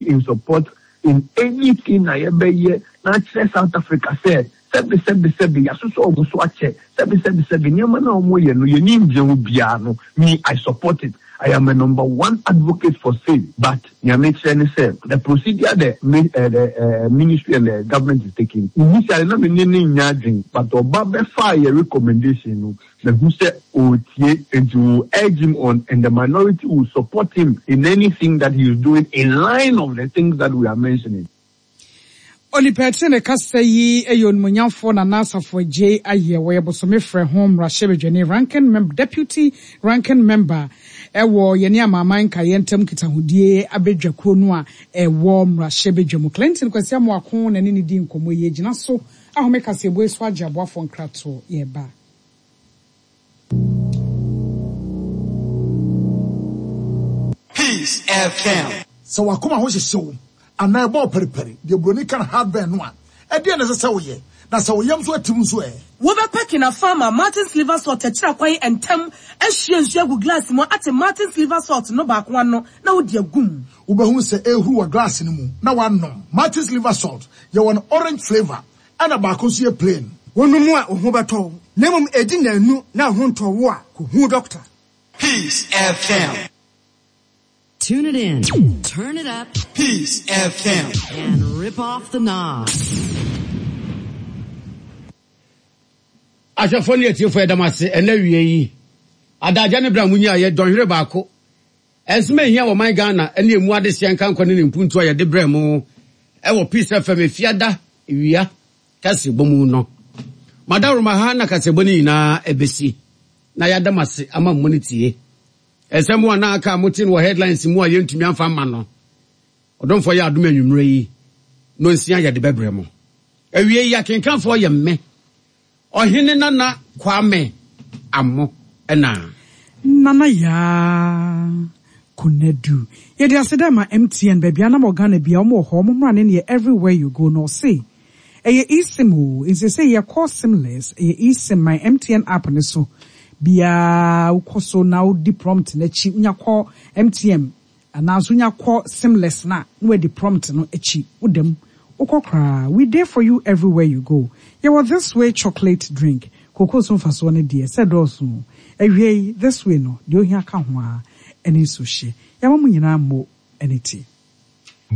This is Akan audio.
In support in anything a yɛbɛyɛ na akyerɛ South Africa sɛ sɛbe sɛbe sɛbe yɛasosɔ wɔn so akyɛ, sɛbe sɛbe sɛbe nneɛma no a wɔyɛ no yɛn ani nnye ho biara no, me I support it. I am a number one advocate for same but nea mekyerɛ ne sɛ the procedure the eh, the eh, ministry and the government is taking initially na me ne no nnya adwene but ɔba bɛfaa yɛ recommendation no Mahu sɛ ɔretie nti we will urge him on and the minority will support him in anything that he is doing in line of the things that we are mentioning. Onipa a ɛte ne kasa yi yɛ Onimuonyamfoɔ Nana Asafo Adjei Ayɛ. Ɔyɛ Bosome Frɛ ho Mmarahyɛbadwani, Ranking Member, Deputy Ranking Member, wɔ yɛne Amanaman Nkaeɛ Ntam Nkitahodie Abadwakuo no a ɛwɔ Mmarahyɛbadwa mu. Clinton Kwasi Amoako na ɛne no dii nkɔmmɔ yi. Yɛgyina so ahome kaseɛbɔ yi so agye aboafoɔ nkratoɔ. Yɛreba. Peace FM. Sɛ w'akoma ho hyehye wo anaa ɛbɔ wo paripari, deɛ buroni ka no heartburn no a, ɛdeɛn na ɛsɛ sɛ woyɛ? Na sɛ wo yam nso atim nso ɛ? Wobɛpɛ Kinafa ama Martin's Liver Salt akyiri akwan ntɛm ahwie nsuo agu glass mu ate Martin's Liver Salt no baako ano na wode agu mu. Wobɛhunu sɛ ɛrehuru wɔ glass no mu na woanom. Martin's Liver Salt, yɛwɔ no orange flavour ɛna baako nso yɛ plain. Wonom a, wo ho bɛtɔ wo, na mmom ɛdi nnanu na wo ho ntɔ wo a, kɔhu dɔkta. Peace FM. Tune it in, turn it up. Peace FM. And rip off the knob. Ahwɛfoɔ ne atiefoɔ yɛda mo ase ɛnɛ awie yi adagya ne berɛ a monyaeɛ dɔnhwere baako ɛnsɛm a ɛhia wɔ man Ghana ne ɛmu adehyeɛ nkankɔ ne ne mpuntuo a yɛde brɛ mo ɛwɔ Peace FM efiada wia kaseɛbɔ mu no madaworoma ha na kaseɛbɔ no nyinaa ɛbɛsi na yɛada mo ase ama mo no tie Nsɛm a na aka a mote no wɔ headlines mu a yɛntumi amfa amma no, ɔdomfoɔ yɛ adom anwummerɛ yi, nonsia yɛde bɛbrɛ mo. Awie yi, akenkanfoɔ yɛ mme, Ɔhene Nana Kwame Amo ɛna. Nana Yaa Konadu. Yɛde aseda ma MTN, baabi a na wɔ Ghana biara wɔn wɔ hɔ, wɔn mmra ne neɛ everywhere you go no ɔse Ɛyɛ eSIM oo, nsesei yɛkɔ SIMless, ɛyɛ eSIM, my MTN app no so biaa wokɔ so na wodi prompt no akyi, wonya kɔ MTN anaa nso wonya kɔ SIMless no a na wadi prompt no akyi, woda mu, wokɔ koraa, we dey for you everywhere you go. Yɛwɔ This Way chocolate drink, kookoo so mfasoɔ no deɛ sɛ ɛdɔɔso oo, awiei This Way no deɛ ohia ka ho ara ɛne nsuohyeɛ. Yɛama mo nyinaa mmo ne ti.